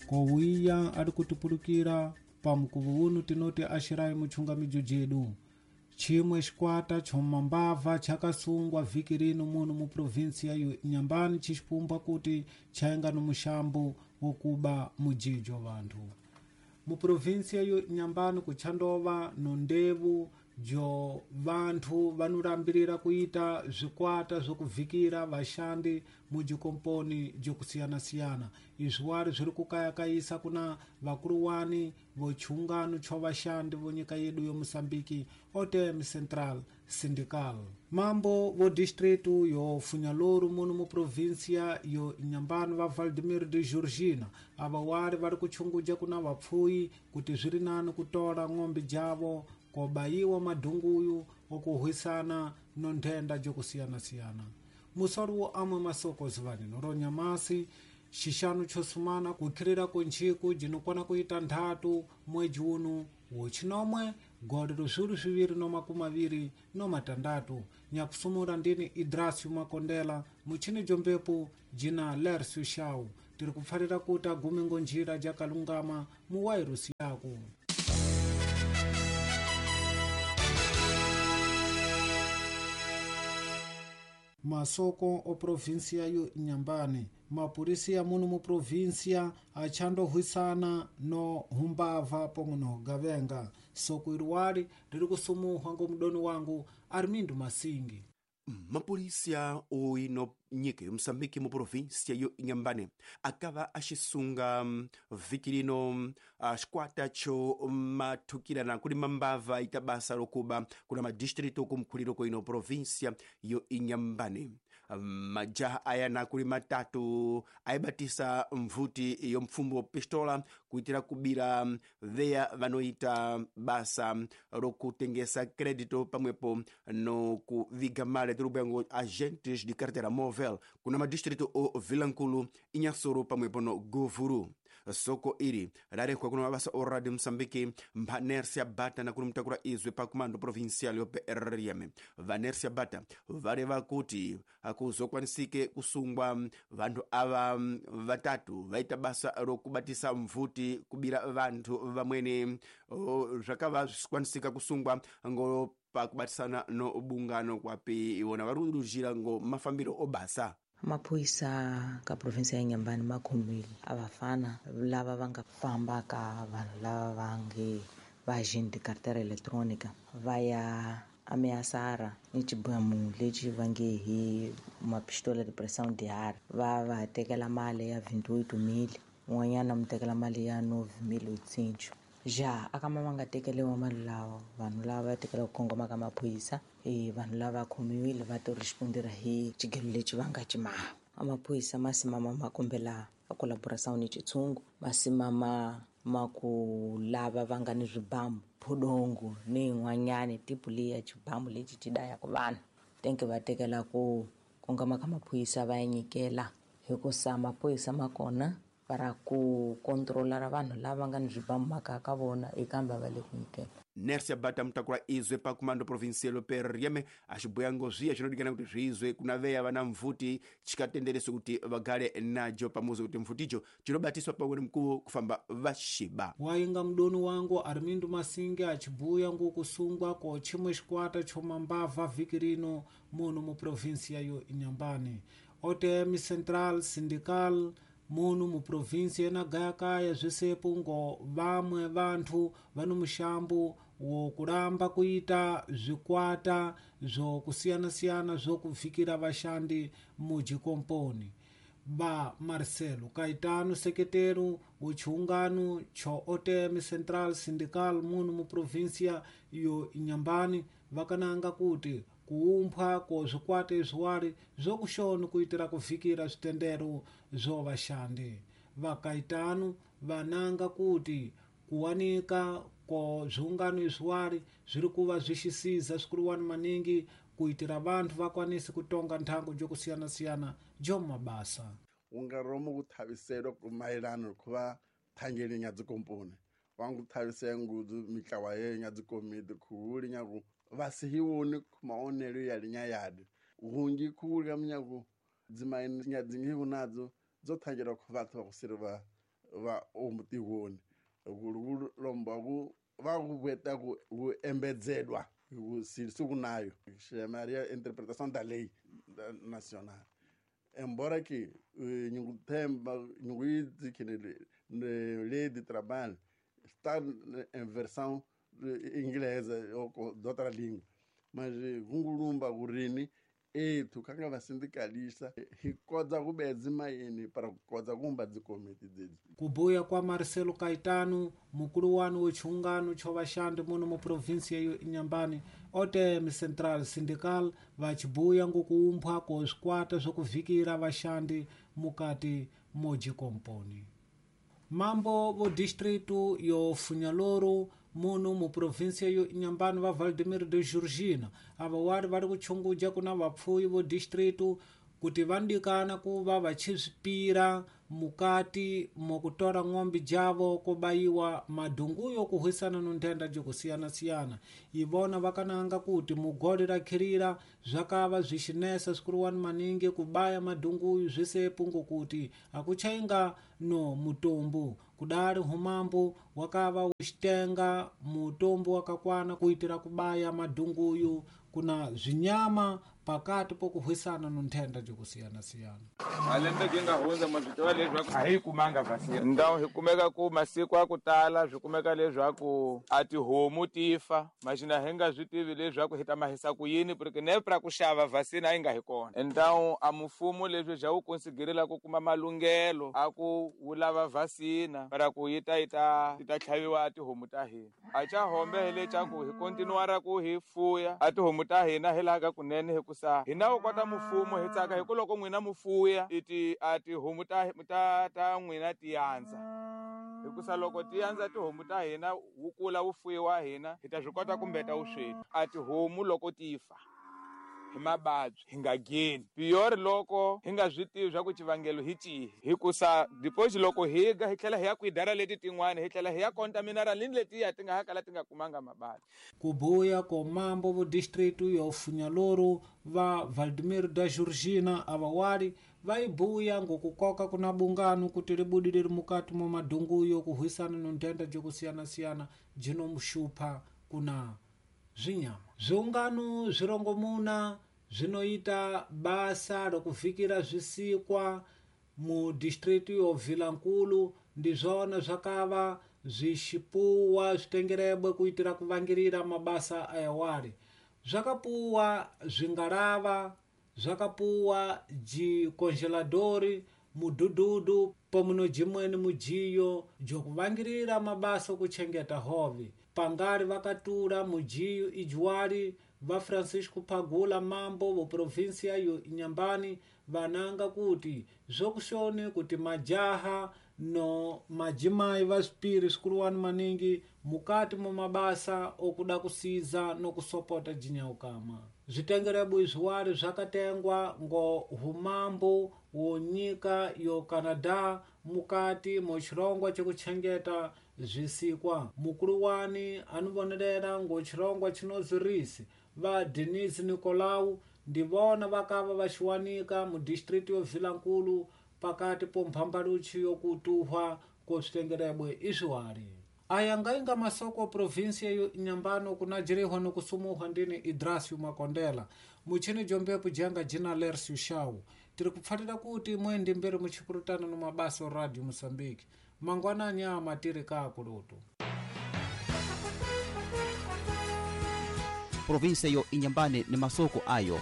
Kowiya ali kutipulukira pa mkuvu unu tinoti axirayi mutchungamijo jedu. Chimwe xikwata chomambava chakasungwa vhiki rino muno mu provinsia yo Inhambane cixipumbwa kuti chaenga no muxambo wokuba mujijo vanthu. Mu provinsia yo Inhambane kutxandova no ndevu jo vanthu vanolambirira kuita zvikwata zvokuvhikira vaxandi mujikomponi jokusiyana-siyana. Izvi wari zviri kukayakayisa kuna vakuluwani vochungano cho vaxandi vo nyika yedu yo Moçambique, OTM Central Sindical. Mambo vo distrito yo Funhalouro muno mu província yo Inhambane va Valdemiro de Georgina ava wari vari kuchunguja kuna vapfuyi kuti zviri nani kutola ng'ombe javo kobayiwa madhunguyu okuhwisana no nthenda jokusiyana-siyana. Musoro wo amwe masoko zivanino ronyamasi xixanu xo sumana kukhirira ku ntsiku jinokwana kuita 3 mwedzi uno wochinomwe gole 2026. Nyakusumura ndini Idrasio Makondela muchini jombepo jina Lercio Shau tiri kupfarira kuti agume ngonjira jakalungama muwairusi yako. Masoko o província yo Inhambane. Mapurisia muno mu província achandohwisana no humbava pomwe no gavenga. Soko iriwali riri kusumuhwa ngo mudoni wangu Armindo Masingi. Mapolisia oino nyika yo Moçambique mu província yo Inhambane akava axisunga vhiki lino xikwata xo mathukirana kuli mambava ita basa lokuba kuna madistrito kumkhuliro koino província yo Inhambane. Majaha ayana kuli matatu ayibatisa mvuti yo mfumbo pistola kuitira kubira veya vanoita basa lokutengesa crédito pamwepo no kuviga male tirubyango agentes de carteira móvel kuna madistrito o Vilankulu, Inhassoro pamwepo no Govuru. Soko iri rarehwa kuna mabasa o Radio Moçambique mpha Nercia Bata na kuli izwe pa comando provincial yo PRM. Va Nercia Bata valeva kuti akuzokwanisike kusungwa vanthu ava vatatu vaita basa lokubatisa mvuti kubira vanthu vamwene zvakava zvisikwanisika kusungwa ngo pakubatisana no bungano kwapi iwona vari kudurujira ngo mafambiro obasa. Maphorisa ka province ya Inhambane ma khomile a vafana lava va nga famba ka vanhu lava va nge va agent carteira electronica va ya ameaçar ni xibamu lexi va nge hi mapistola de pressão de ar va va tekela mali ya 28,000 un'wanyana mu tekela mali ya 9,800. Ja akama va nga tekeliwa mali lawa vanhu lava va tekela ku kongoma ka maphorisa vanhu lava khomiwile va to respondera hi xigelo lexi va nga cimaha. Amaphorisa ma simama ma kombela a collaboração ni xitshungu ma simama ma ku lava va nga ni swibamu phodongo ni yin'wanyani tipu leyi ya xibamu lexi xi dayaka vanhu tenke va tekela ku kongoma ka maphorisa va ya nyikela hikusa maphorisa ma kona para ku controlar vanhu lava nga ni swibamu makaya ka vona ekambe va le ku nyikela. Nercia Bata mutakula izwe pa comando provincial PRM axibuyango zviya zvinodikana kuti zvizwe kuna veya vana mvuti chikatendereso kuti vagale najo pamuzi kuti mvutijo chinobatiswa pamwe mkuwo kufamba vaxiba. Wainga mudoni wangu Armindo Masingi achibuya ngokusungwa ko chimwe xikwata chomambava vhiki rino muno mu província yo Inhambane. OTM Central Sindical muno mu província yenagayakaya zvisepo ngo vamwe vanthu vano muxambo wokulamba kuita zvikwata zvokusiyana-siyana zvokuvikira vaxandi mujikomponi. Va Marcelo Caetano, sekretero wo chiungano cho OTM Central Sindical muno mu província yo Inhambane vakananga kuti kuumbwa ko zvikwata izviwari zvokushoni kuitira kuvikira zvitendero zvo vaxandi. Va Caetano vananga kuti kuwanika ko zviungano izviwari zviri kuva zvixisiza zwikuluwani maningi kuitira vanthu vakwanise kutonga nthangu jokusiyana-siyana jo mabasa. Ungaromo kuthaviselwa mayelana khuva thangeli nya dzikomponi vangu thavisela ngudzu mitlawa yeyo nya dzikomiti khuhuli nyaku vasihiwoni maonelo ya linyayadi hungi khuhuli ka minyaku dzimaini nya dzingihu nadzo dzo thangela khu vhathu vha kusiri va va omutigoni lomba ku va ku veta ku embedzelwa ku siku nayo chamaria interpretação da lei nacional embora que nyunguthemba nyunguidzi que lei de trabalho está em versão inglesa ou de outra língua mas gungulumba kurini ethu kanga vasindicalista hi kodza ku bedzi mayini para ku kodza kumba dzikomiti dzedzi. Kubuya kwa Marcelo Caetano, mukulu wanu wechungano cho vaxandi muno mu província yo Inhambane, OTM Central Sindical vachibuya ngokuumbwa ko swikwata swokuvhikira vaxandi mukati mojikomponi. Mambo vo distrito yo Funyaloro muno mu província yo Inhambane va Valdemir de Georgina ava wari vari kuchunguja kuna vapfuyi vo distrito kuti vandikana kuva vachisvipira mukati mokutora ng'ombe javo kobayiwa madhunguyo kuhwisana nonthenda jokusiyana-siyana. Ivona vakananga kuti mugole rakhirira zvakava zvixinesa swikuruwani maningi kubaya madhunguyu zvisepo ngokuti akuchainga no mutombo kudari humambo wakava uchitenga mutombo wakakwana kuitira kubaya madhunguyu kuna zvinyama pakati pokuhwisana nonthenda jokusiyana-siyana. Malembe ki nga hundza mazvitova leswaku a hi kumanga vhasina ndhawu hi kumeka ku masiku a ku tala swi kumeka leswaku a tihomu ti fa maxina hi nga swi tivi leswaku hi ta mahisa ku yini porque nepra ku xava vhasina a yi nga hi kona ndhawu a mfumo leswi bya wu konsiderela ku kuma malunghelo a ku wu lava vhasina para ku yi ta yi ta ti ta tlhaviwa a tihomu ta hina a cha hombe hi lecaku hi kontinuara ku hi fuya a tihomu ta hina hi laha ka kunene hi ku sa hina wu kota mfumo hi tsaka hi ku loko n'wina mufuya iti a tihomu ta ta ta n'wina ti yandza hikusa loko ti yandza tihomu ta hina wu kula wu fuyiwa hina hi ta swi kota kumbeta vusweti a tihomu loko ti fa hi mavabyi hi nga geni piyori loko hi nga swi tivi swa ku xivangelo hi cihi hikusa deposit loko hi ga hi tlhela hi ya kwidara leti tin'wani hi tlhela hi ya contaminara lini letiya ti nga ha kala ti nga kumanga mavabyi. Kubuya ko mambo vo distrito yo Funyaloro va Valdemir da Georgina avawali vaibuya ngokukoka kuna bungano kuti libudi liri mukati mwa madhunguyo kuhwisana nonthenda jokusiyana-siyana jinomuxupha kuna zvinyama. Zviungano zvirongomuna zvinoita basa rokuvhikira zvisikwa mu distrito yo Vilankulu ndizvona zvakava zvixipuwa zvitengerebwe kuitira kuvangirira mabasa ayawari. Zvakapuwa zvingarava, zvakapuwa jikongeladori, mudhudhudhu pomwe jimweni mujiyo jokuvangirira mabasa okuchengeta hove. Pangari vakatura mujiyo ijuwari va Francisco Pagula mambo vo província yo Inhambane vananga kuti zvokushoni kuti majaha no majimai va swipiri swikuluwani maningi mukati mwa mabasa okuda kusiza nokusopota jinyaukama. Zvitengerebwe izviwari zvakatengwa ngo humambo wo nyika yo Canadá mukati mo chirongwa chekuchengeta zvisikwa. Mukuluwani anovonerera ngo chirongwa chinozirisi va Denise Nicolau ndivona vakava vaxiwanika mu distrito yo Vilankulu pakati po mphambaluchi yokutuhwa ko switengerebwe izviwari. Aya ngainga masoko província yo Inhambane kunajirihwa nokusumuhwa ndini Idrasio Makondela muchini jombepo jenga jina Lercio Shau. Tiri kupfatira kuti mwendi mberi muchikurutana no mabasa o Radio Moçambique. Mangwanani ama tiri kaakulutu. Província yo Inhambane ni masoko ayo.